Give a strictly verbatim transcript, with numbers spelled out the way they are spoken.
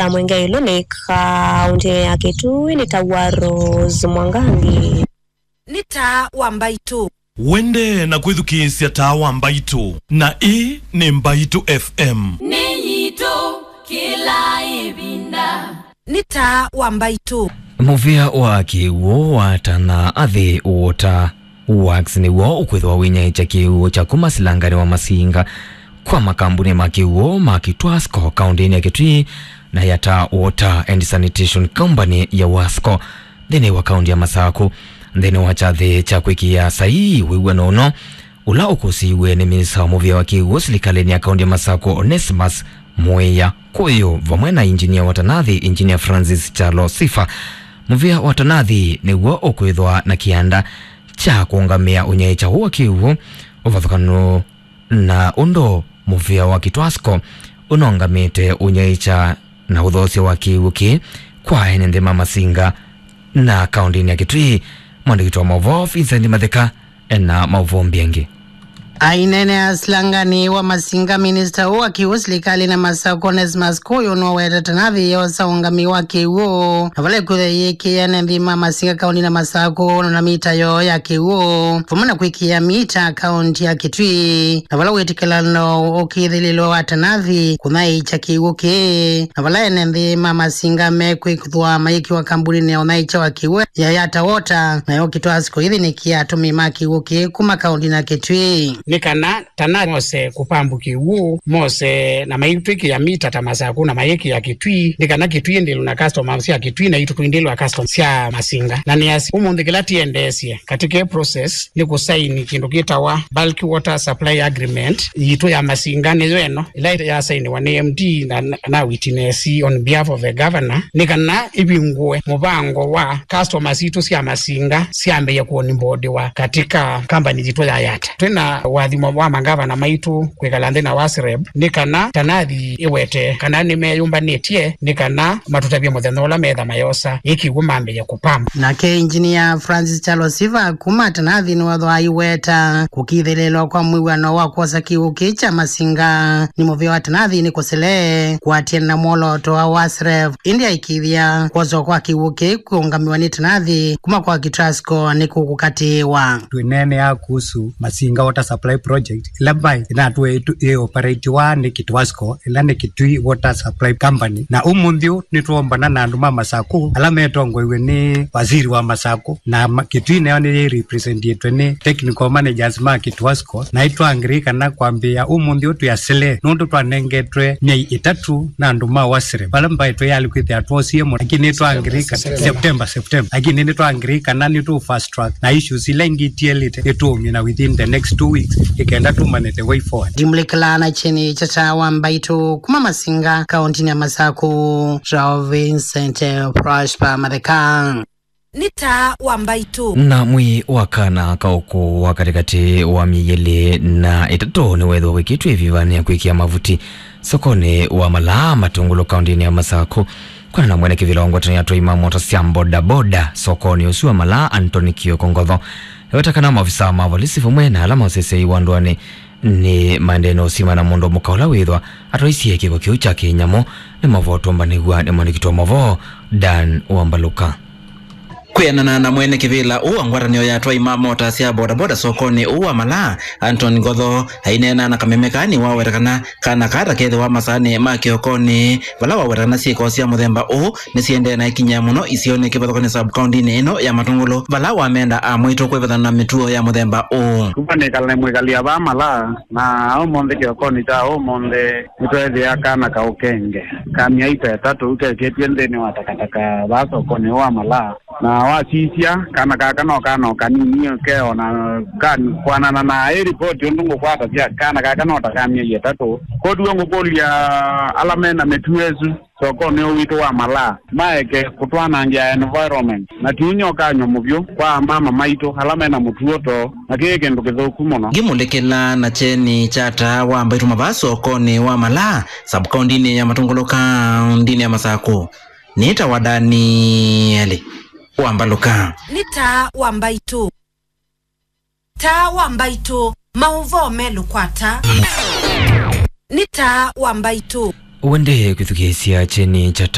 Mwenge ĩlũ nĩ kaũntĩnĩ ya Kitui nĩ ta wa Rose Mwangangi. Nĩ taa wa mbaitũ. Wende na kwĩthukĩĩsya taa wa mbaitũ, na ĩĩ nĩ Mbaitũ F M. Nĩ yitũ kĩla ĩvinda. Nĩ taa wa mbaitũ. Mũvĩa wa kĩw'ũ wa Tana Athi Water Works nĩw'o ũkwĩthĩwa wĩnyaĩĩkya kĩw'ũ kya kuma silanganĩ wa Masinga kwa makambunĩ ma kĩw'ũ ma Kitwasco kaũntĩnĩ ya Kitui na Yata Water and Sanitation Company ya Wasco nthĩnĩ wa kaũntĩ ya Masakũ. Nthĩnĩ wa kyathĩ kya kwĩkĩa saii wĩw'ano ũno, ũla ũkũsiiw'e nĩ minista wa mũvĩa wa kĩw'ũ silikalĩnĩ ya kaũntĩ ya Masakũ, Onesmus Mwĩa Kũyũ, vamwe na injinia wa Tanathi, Injinia Francis Kyalo Sifa, mũvĩa wa Tanathi nĩw'o ũkwĩthwa na kĩanda kya kũũngamĩa ũnyaĩĩkya ũũ wa kĩw'ũ, ũvathũkanu na ũndũ mũvĩa wa Kitwasco ũnũngamĩte ũnyaĩĩkya na ũthoosya wa kĩw'ũ kĩĩ kwa ene nthĩ ma Masinga na kaũntĩnĩ ya Kitui. Mwandĩki wa maũvoo Vincent Matheka ena maũvoo mbingĩ. Aineenea silangani wa Masinga, minista ũũ wa kĩw'ũ silikalĩnĩ ya Masakũ, Onesmus Kũyũ, nũwetete Tanathi yosa ũũngamĩi wa kĩw'ũ, na vala ĩkwĩthwa yĩkĩĩa ene nthĩ ma Masinga kaũntĩnĩ ya Masakũ na mita yoo ya kĩw'ũ, vamwe na kwĩkĩa mita kaũntĩ ya Kitui, na vala wĩtĩkĩlano ũkĩthĩlĩlwe wa Tanathi kũnyaĩĩkya kĩw'ũ kĩĩ, na vala ene nthĩ ma Masinga mekwĩthwa mayĩkĩwa kambunĩnĩ ya ũnyaĩĩkya wa kĩw'ũ ya Yata Water, nayo Kitwasco ĩthĩnĩkĩa atũmĩi ma kĩw'ũ kĩĩ kuma kaũntĩnĩ ya Kitui. Nĩ kana Tana mose kũpambu kĩw'ũ, mose na maitwĩkĩa mita ta Masakũ na mayĩkĩa Kitui, nĩ kana Kitui ĩndĩlwe na customers sya Kitui na itũ tũindĩlwa customers sya Masinga. Na nĩasya ũmũnthĩ kĩla tĩendeesye katika ĩ process nĩ kũsaini kĩndũ kĩtawa Bulk Water Supply Agreement yitũ ya Masinga, nĩyo ĩno ĩla yasainiwa nĩ M D na, na, na witness on behalf of the governor, nĩ kana ĩvingũe mũvango wa customers sitũ sya Masinga syambĩĩe kũonibodiwa katika company yitũ ya Yata. Twĩna ũathimo wa mangavana maitũ kwĩkala nthĩ na WASREB, nĩ kana Tanathi ĩwete kana nĩmeyũmbanĩtye nĩ kana matũtavye mũthenya ũla metha mayosa ĩ kĩw'ũ mambĩĩe kũpambu. Nake Engineer Francis Kyalo Sifa kuma Tanathi nĩwethwa aiweta kũkĩthĩlĩlwa kwa mwĩw'ano wa kwosa kĩw'ũ kĩĩ kya Masinga nĩ mũvĩa wa Tanathi nĩ kũsele kũatĩana na mwolooto wa WASREB, ĩndĩ aikĩĩthya kwoswa kwa kĩw'ũ kĩĩ kũũngamĩwa nĩ Tanathi kuma kwa Kitwasco nĩ kũkũkatĩĩwa. Twĩneenea kuhusu Masinga Water Supply Project, ĩla mbaĩ ĩnatwĩe ĩtu-, ĩ operatiwa nĩ Kitwasco, ĩla nĩ Kitui Water Supply Company. Na ũmũnthĩ ũũ nĩtwombana na andũ ma Masakũ, ala metongoiw'e nĩ waziri wa Masakũ, na ma-, Kitui nayo nĩyĩ representĩtwe nĩ technical managers ma Kitwasco, na nĩtwa agree kana kwambĩĩa ũmũnthĩ ũũ twĩ asile, nũndũ twanengetwe myei ĩtatũ na andũ ma WASREB, vala mbaĩ twĩyalĩ kwĩthĩa twosie mũno, lakini nĩtwa agree kana September, September, lakini nĩtwa agree kana nĩtũ fast track na issues ila ingĩ itielĩte nĩtũũmina within the next two weeks, ĩkenda tũmane the way forward. Ndimũlĩkĩlaa na kyeni kya taa wa mbaitũ kuma Masinga, kaũntĩnĩ ya Masakũ, Charles Vincent Prosper Matheka. Nĩ taa wa mbaitũ. Na mwĩĩ wa kana kaũkũ wa katĩkatĩ wa myei ĩlĩ na ĩtatũ nĩwethĩwa wĩkĩtwe ĩvivanĩ ya kwĩkĩa mavuti sokonĩ wa Malaa Matũngũlũ kaũntĩnĩ ya Masakũ. Kwana na mwene kĩvĩla wa ngwatanĩo ya atwai ma mota sya bodaboda sokonĩ ũsu wa Malaa, Anthony Kioko Ngotho, eweta kana maovisaa ma volisi vamwe na ala maũseseei wa ndũanĩ nĩ maendee na ũsima na mũndũ mũka ũla wĩthwa atwaisye kĩko kĩu kya kĩnyamũ. Nĩ maũvoo tũmbanĩw'a nĩ mwandĩki wa maũvoo Dan Wambaluka. Kwĩanana na mwene kĩvĩla ũũ wa ngwatanĩo ya atwai ma mota sya bodaboda sokonĩ ũũ wa Malaa, Anton Ngotho, aineena na kameme kaa nĩwaweta kana kana kaa ta kethĩwa masaanĩ ma kĩokonĩ, vala waweta kana syĩko sya mũthemba ũũ nĩsiendee na ĩkinyĩa mũno isionĩ kĩvathũkany'o sub-kaũntĩnĩ ĩno ya Matũngũlũ, vala wamenda amwaitũ kwĩvathana na mĩtuo ya mũthemba ũũ. Kuma nĩkala nĩ mwĩkalĩa vaa Malaa, na ũmũnthĩ kĩokonĩ kya ũmũnthĩ nĩtweethĩa kana kaũkenge ka myei ta ĩtatũ kekĩtw'e nthĩnĩ wa takataka vaa sokonĩ ũũ wa Malaa. Na wasisya, kana kaka no kana o kanini ke o na kan-, kwanana na ĩ ripoti ũndũ ngũkwatasya, kana kaka no ta ka myei ĩtatũ. Kotuo ngũkũlya ala me na mĩtuo ĩsu sokonĩ ũũ witũ wa Malaa maeke kũtwanangĩa environment, na ti ũnyokany'o mũvyũ kwa amama maitũ ala me na mũtuo too, na kĩĩ kĩndũ kĩthũku mũno. Ngĩmũlĩkĩla na kyeni kya taa wa mbaitũ mavaa sokonĩ wa Malaa, sub-kaũntĩnĩ ya Matũngũlũ, kaũntĩnĩ ya Masakũ. Nĩtawa Danieli Wambaluka. Nĩ taa wa mbaitũ. Taa wa mbaitũ, maũvoo melũ kwa taa. Nĩ taa wa mbaitũ. Wende kwĩthukĩĩsya kyeni kya